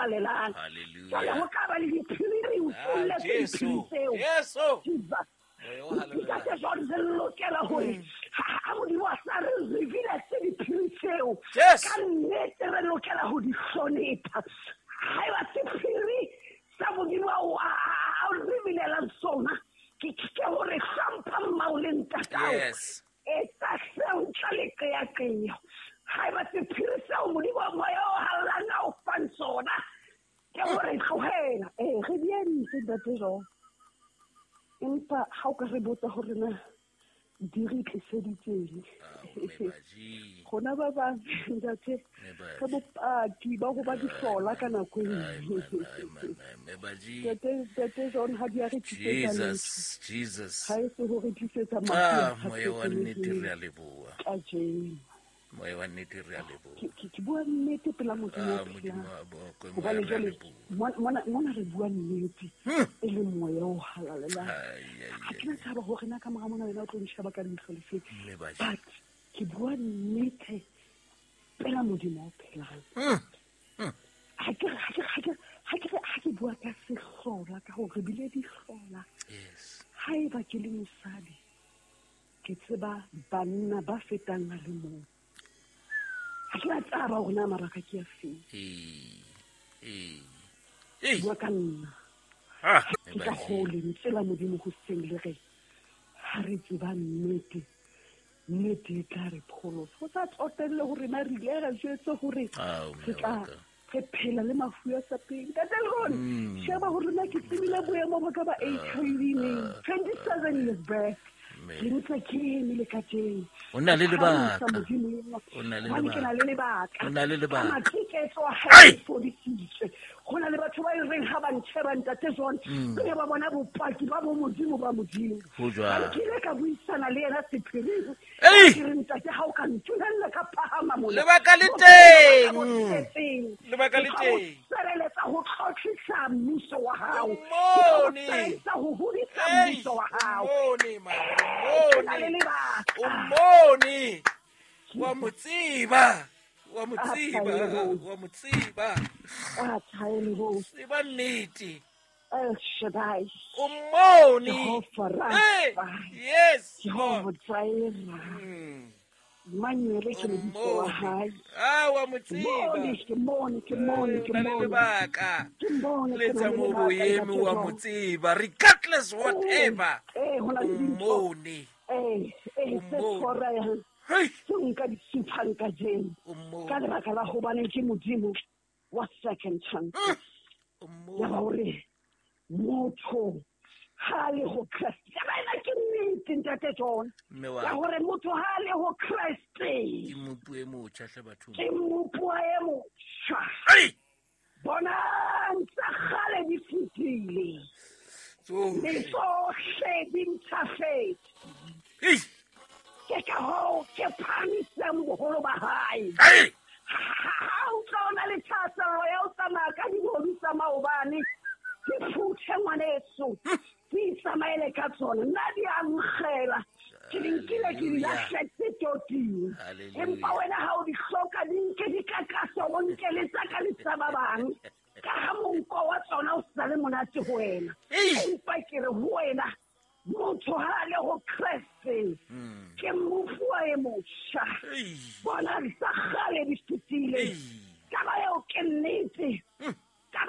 Halalelang. Jwale ho Hallelujah. tla ba le diphiri re Ah, utolletse Jesu. diphiri tseo. Jesu. Jesus. Moya o Ntate halalelang. John, re lokela hore ha Modimo a sa re revealetse diphiri tseo, Jesu. ka nnete re lokela ho di hlonepha. Haeba sephiri sa Modimo a o revealelang sona ke hore hlompha mmao le ntatao. Yes. Etsa seo ntle le qeaqeo. Haeba sephiri seo Modimo wa moya o halalelang a o fang sona ke hore tlohela. Ee, re di entse, Ntate John. Empa ha o ka re botsa hore na di re tliseditseng, Ah, Mebaji. rona ba bang, ntate, Mme Baji. re bopaki ba ho ba dihlola ka nako e Ai, nngwe. my, my, my, Mebaji. Ntate John, ha di a re tlisetsa letho. Jesus, Jesus. Ha e se ho re tlisetsa mafu Ah, a moya wa nnete re sa a leboha. kajeno. Moya wa nnete re a leboha. Ke bua nnete pela Modimo Ah, o Modimo phelang. a bokwe, moya Hobane re a jwale leboha. mona re bua nnete e le moya o halalelang. Ai, ai, Ha ai. ke na taba hore na ka mora mona wena o tlo nsheba ka leihlo le feng. Mme Baji. But ke bua nnete pela Modimo o phelang. Ha ke bua ka sehlola, ka hore re bile dihlola. Yes. Haeba ke le mosadi, ke tseba banna ba fetang a le mong. Ha ke na taba hore na mabaka ke a feng. Ee. Ee. Ee. Bua ka nna. Ah, Ke ka Mebaji. hoo lentswe la Modimo hoseng le re, ha re tseba nnete, nnete e tla re pholosa. Ho sa tsotelle hore na re ile ra jwetswa hore Ao, mme re tla wa ka. re phela le mafu a sa pele. Ntate Leon, sheba hore na ke tsebile boemo ba ka ba HIV neng, 27 years back. Mme. Ke ntse ke eme le kajeno. O na le Ke phahamisa lebaka. Modimo enwa. O na le Hobane ke na le lebaka. O na le lebaka. Ka matiketso a hae Ai! ke fodisitswe. Ho na le batho ba e reng ha ba ntjheba, Ntate John, pele ba bona bopaki ba bo Modimo ba Modimo. Ho jwalo. Hobane ke ile ka buisana le yena sephiring. Ei! Ke re, ntate, ha o ka ntumella ka phahama mona. Lebaka le Bophelo ba ka bo teng. tletseng. Lebaka le Ke tla o teng. sebeletsa ho tlotlisa mmuso wa hao. O Ke tla o mone. sebeletsa ho hodisa Ei, mmuso wa hao. o mone, man, o Ke na le mone. lebaka. O mone. Wa mo tseba. Wa mo Ah, tseba. Thaelehong. Wa mo tseba. Ah, Thaelehong. Tseba nnete. El Shaddai. O mone. Jehova Hey, Rapha. yes. Jehova Lord. Jireh. Emmanuel ke O lebitso la mone. hae. Ah, wa mo tseba. Mone, ke mone, ke mone, ke O na le mone. lebaka. Ke mone, Le ke na tsa le mo lebaka, boeme Ntate wa mo John. tseba regardless whatever. Eh, ho na O le dintho. mone. Eh, eh, O tse mone. tshwarehang, Hey, tseo nka di suphang kajeno. o mone. Ka lebaka la hobane ke Modimo wa second chance. O Ya ba mone. hore motho ha a le ho Kreste. Taba ena ke nnete, Ntate John. Mme wa Ya ka. hore motho ha a le ho Kreste. Ke mopu e motjha hle bathong. Ke mmopuwa e motjha. Hey! Bonang tsa kgale di fetile. Tsohle. Mme tsohle di ntjhafetse. Hey! Ke ka hoo ke phahamisang boholo ba hae. Hey! Ha o tla o na le thahasello ya ho tsamaya ka dibodu tsa maobane, di phuthe ngwaneso, di itsamaele ka tsona. Nna di a nkgela. Ke di nkile ke di Hallelujah. lahletse toting. Hallelujah. Empa wena ha o di hloka, di nke di kakase, o nke le tsa ka le tsa ba bang. Ka ha monko wa tsona o sa le monate ho wena. Ei! Empa ke re ho wena, motho ha a le ho Kreste, ke mmopuwa e motjha. Ei! Bona tsa kgale di fetile. Ei!